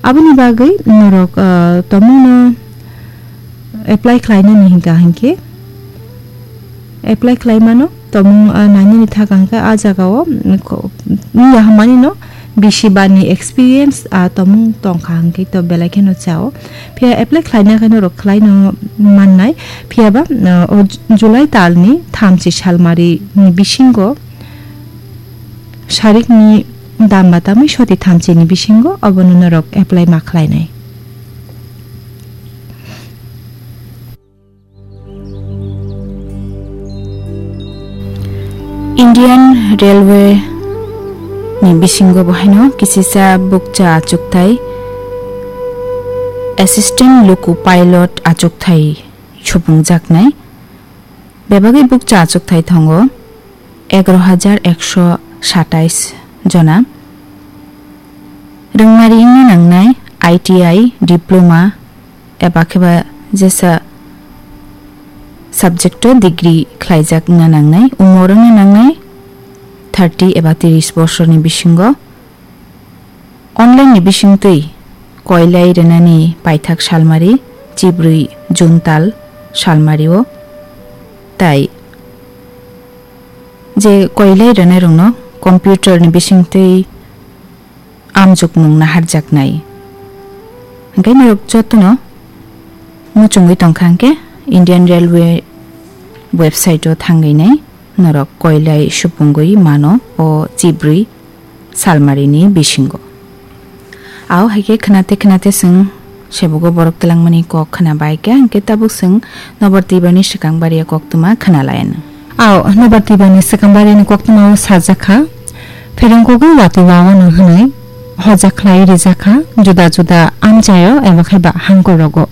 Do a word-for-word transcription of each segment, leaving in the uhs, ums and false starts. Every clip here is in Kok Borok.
Aboni bagwi norok, ah, tomungno apply khlainani hinka hinkhe apply khlai mano. Tomung, ah, nainani thaka hinkhe ah jagao, mm, ko-, wngya hwnmani no bisi bani experience, ah, tomung tongkha hinkhe to belai kheno chao. Phiya apply khlaina khe norok khlaino mannai. Phiya ba, ah, o Ju-, July talni thamchi salmari ni bisingo sarikni dam batamwi soti thamchini bisingo obono norok apply ma khlainai. Indian Railway ni bisingo bo haino kisisa bukcha achukthai, Assistant Loco Pilot achukthai supungjaknai. Bebagwi bukcha achukthai tongo egaroh hajar ekso satais jona. Rwngmari wngna nangnai I T I, diploma, eba kheba jesa subject o degree khlaijak wngna nangnai. Umor wngna nangnai thirty eba tris bosorni bisingo. Online ni bisingtwi koilai rwnani paithak salmari chibrwi June tal salmario, tai je koilai rwnairokno computer ni bisingtwi amjokmung naharjaknai. Hwnkhe norok jotono muchungwi tongkha hwnkhe Indian Railway website o thangwi nai norok koilai supungwi mano o chibrwi salmarini bisingo. Ao hai khe khwnate khwnate chwng sebogo borok twlangmani kok khwna bai khe, hwnkhe tabuk chwng Nobar Twibarni swkang baria koktwma khwna lai anw. Ao Nobar Twibarni swkang bariani koktwmao sajak kha, pherang kugui watwi wawano hwnwi hojak khlai rijak kha juda juda amchaio eba khe ba hangkorogo.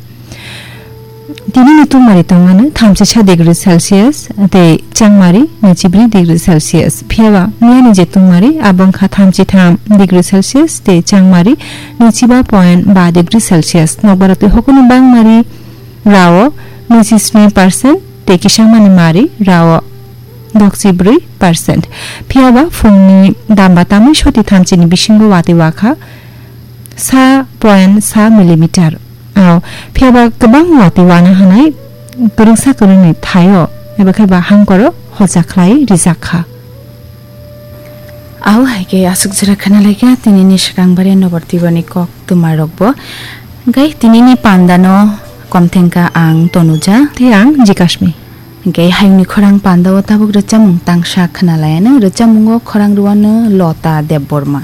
Tinini tungmari tongmani thamchisa degree Celsius tei changmari naichibri degree Celsius. Phiyaba miyani je tungmari abo wngkha thamchitham degree Celsius tei changmari naichiba point ba degree Celsius. Nokbar twi hokoni bangmari rao naichibri percent tei kisangmani mari rao dokchibrwi percent. Phiyaba phungni damba tamwi soti thamchini bisingo watwi wakha sa point sa millimeter. Ao, phiyaba kwbang watwi wana hwnwi kwrwngsa kwrwngni thaio eba khe ba hangkoro hocha khlai rijak kha. Ao hai khe aswk jora khna lai kha tinini swkang bare Nobar Twibarni kok twmarokbo. Hwnkhe tinini pandano komthengkha ang Tonuja. Tei ang Jikashmi. Hwnkhe hayungni khorang pandao tabuk rwchapmung tangsa khna lai anw, rwchapmungo khorang rwano Lota Debbarma.